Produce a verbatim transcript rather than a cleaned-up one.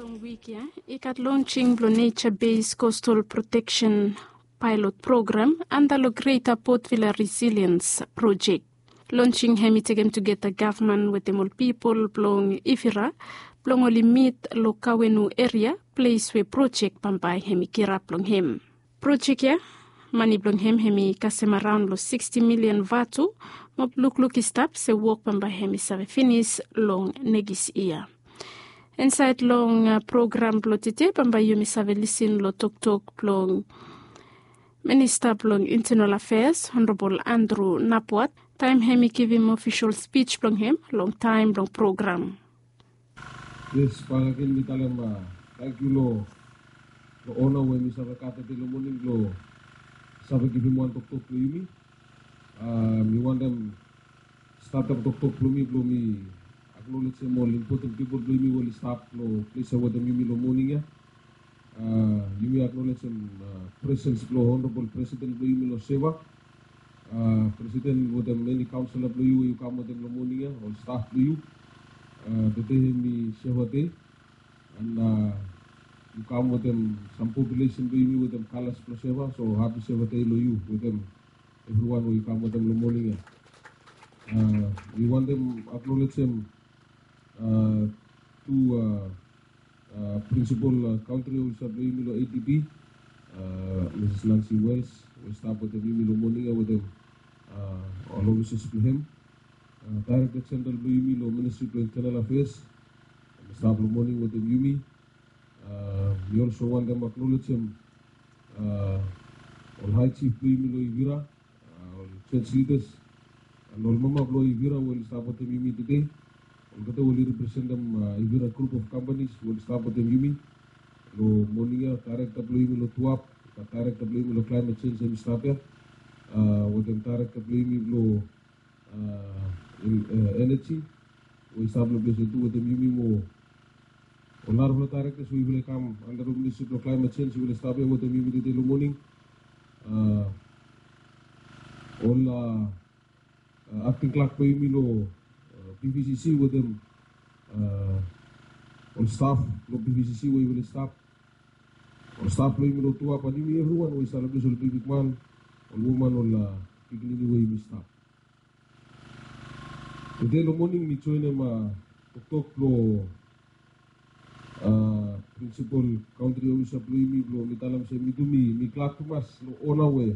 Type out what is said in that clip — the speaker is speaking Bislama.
Long wik ya i gat lonsing blong Nature Based Coastal Protection Pilot Program anda long Greater Port Vila Resilience Project. Lonsing hem i tekem tugeta gavman wetem ol pipol blong Ivira blong oli mit long Kawenu eria, ples we projek bambae hem i kirap long hem. Projek ya mane blong hem hem i kasem araon long siksti milian vatu. Mo lukluk i stap se wok bambae hem i save finis long nekis yia. Insaed long program blong tede bambae yumi save lisin long toktok blong Minista blong Intenal Afeas Honorabol Andrew Napwat taem hem i givim ofisol spij blong hem long taem blong program. Yes, bae agen mi talem tangkiu long ona we mi save gat tede long moning blong save givim wan toktok blong yumi. Mi wantem statem toktok blong mi blong mi aknolejem ol impoten pipol blong yumi we oli stap long ples ya wetem yumi long moning ya. Yumi aknolejem presens blong Honorabol Presiden blong yumi long seva, Presiden wetem eni kaonsela blong yu we yu kam wetem long moning ya, ol staf blong yu. Tede hem i seva dei, and yu kam wetem sam populesen blong yumi wetem kalas blong seva, so hapi seva dei long yu wetem evriwan we yu kam wetem long moning ya. Mi wantem aknolejem tu prinsipol kantri ofisa blong yumi long A D B, Mrs Nancy Wells, we stap wetem yumi long moning ya wetem ol ofisas blong hem. Daerekta Jeneral blong yumi long Ministri blong Intenal Afeas, hem i stap long moning wetem yumi. Mi olso wantem aknolejem ol hae jif blong yumi long Ivira, ol joj lidas, and ol mama blong Ivira we oli stap wetem yumi tede. Olgeta we oli representem Ivira grup of kampanis we oli stap wetem yumi long moning ya, daerekta blong yumi long Tuap, daerekta blong yumi long Klaemet Jenj hem i stap ya, wetem daerekta blong yumi long eneji we i stap long ples ya tu wetem yumi, mo ol narafala daerektas we yufala i kam anda long Ministri blong Klaemet Jenj yufala i stap ya wetem yumi tede long moning. Ol akting klak blong yumi long PVCC wetem ol staf blong PVCC we yufala i stap, ol staf blong yumi long Tuap, and yumi evriwan we i stap long ples, ol bigbigman, ol woman, ol pikinini we yumi stap. Tede long moning mi joenem toktok blong prinsipol kantri ofisa blong yumi blong mi talem se mi tu mi glad tumas long ona we